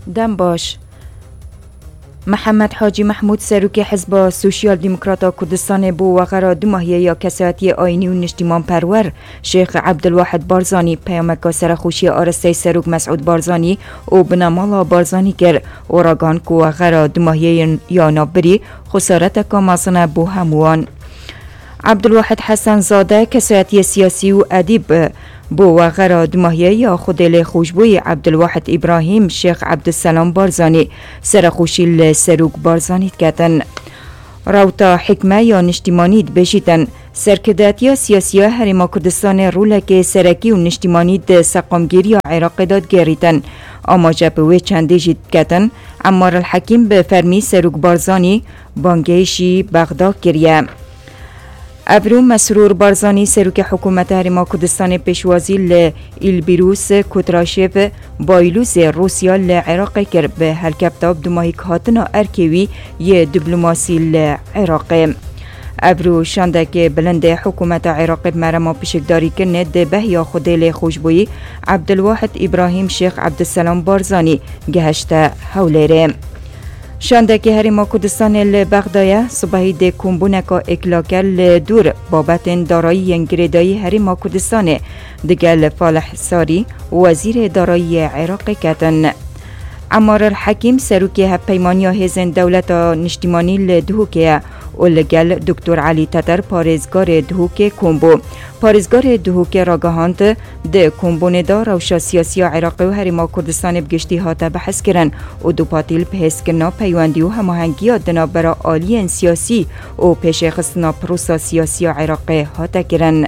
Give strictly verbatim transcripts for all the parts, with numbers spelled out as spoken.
Dem baş. Mihemed Hacî Mehmûd, serokê Hizba Sosyal Demokrata Kurdistanê, bo wexera dumahiyê ya kesayetiyê ayînî û niştîmanperwer Şêx Ebdulwahid Barzanî peyameka serexweşiya arasteyî serok Mesûd Barzanî û binemala Barzanî kir û ragihan ku wexera dumahiyê ya navbirî xesareteka mezin e bo hemû wan. Ebdulwahid Hesen Zade, kesayetiyê siyasî û edîb, bo wexera dumahiyê ya Xwedê lê xweşbûyî Ebdulwahid Îbrahîm Şêx Ebdulselam Barzanî serexweşî li serok Barzanî diketin. Rewta hikme ya niştîmanî dibêjîtin, serkirdatiya siyasî ya Herêma Kurdistanê rolekê serekî û niştîmanî di seqamgîriya Iraqê de digêrîtin. Amaje bi wê çendê jî diketin, Emmar el Hekîm bi fermî serok Barzanî bangehîşî Bexda kiriye. Evro Mesrûr Barzanî, serokê hikûmeta Herêma Kurdistanê, pêşwazî li Îlbîrûs Kutraşêv, Baylûzê Rûsya li Iraqê kir, bi helkefta bi dumahîk hatina erkê wî yê diplomasî li Iraqê. Evro şandekê bilindê hikûmeta Iraqê bi merema pişikdarîkirinê di behiya Xwedê lê xweşbûyî Ebdulwahid Îbrahîm Şêx Ebdulselam Barzanî gihişte Hewlêrê. Şandekî Herêma Kurdistanê li Bexdayê sibehî dê kombûneka êklake li dûr babetên darayî yên girêdayî Herêma Kurdistanê digel Falih Sarî, Wezîrê Darayî yê Iraqê ketin. Emmar el Hekîm, serokê Hevpeymaniya Hêzên Dewleta Niştîmanî li Duhokê ye û li gel Doktor Elî Teter, parêzgarê Duhokê, kom bû. Parêzgarê Duhokê ragihand, di kombûnê de rewşa siyasî ya Iraqê û Herêma Kurdistanê bi giştî hate behskirin û dupatî li bihêzkirina peywendî û hemahengiya di navbera aliyên siyasî û pêşêxistina prosa siyasî ya Iraqê hate kirin.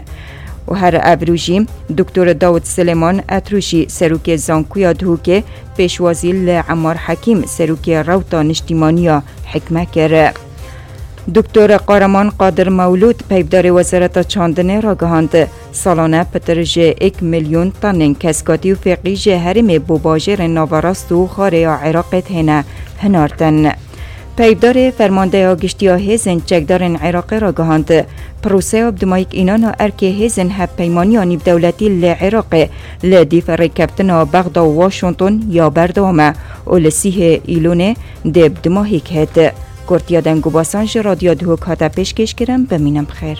Û her evro jî Doktor Dawid Silêman Etrûşî, serokê Zankoya Duhokê, pêşwazî li Emmar Hekîm, serokê Rewta Niştîmaniya Hikme, kir. Doktor Qaraman Qadir Mewlûd, peyvdarê Wezareta Çandinê, ragihand, salane pitir ji êk milyon tonên keskatî û fêqî ji herêmê bo bajêrên naverast û xarê ya Iraqê dihêne hinartin. Peyvdarê Fermandeya Giştî ya Hêzên Çekdarên Iraqê ragihand, proseya bi dumahîk înana erkê hêzên hevpeymaniya nîvdewletî li Iraqê li dîf rêkeftina Bexda û Washington ya berdewam e û li sîhê Îlonê dê bi dumahîk hêt. Kurtiya deng û basan ji Radyo Duhok hate pêşkêşkirin. Bimînin bi xêr.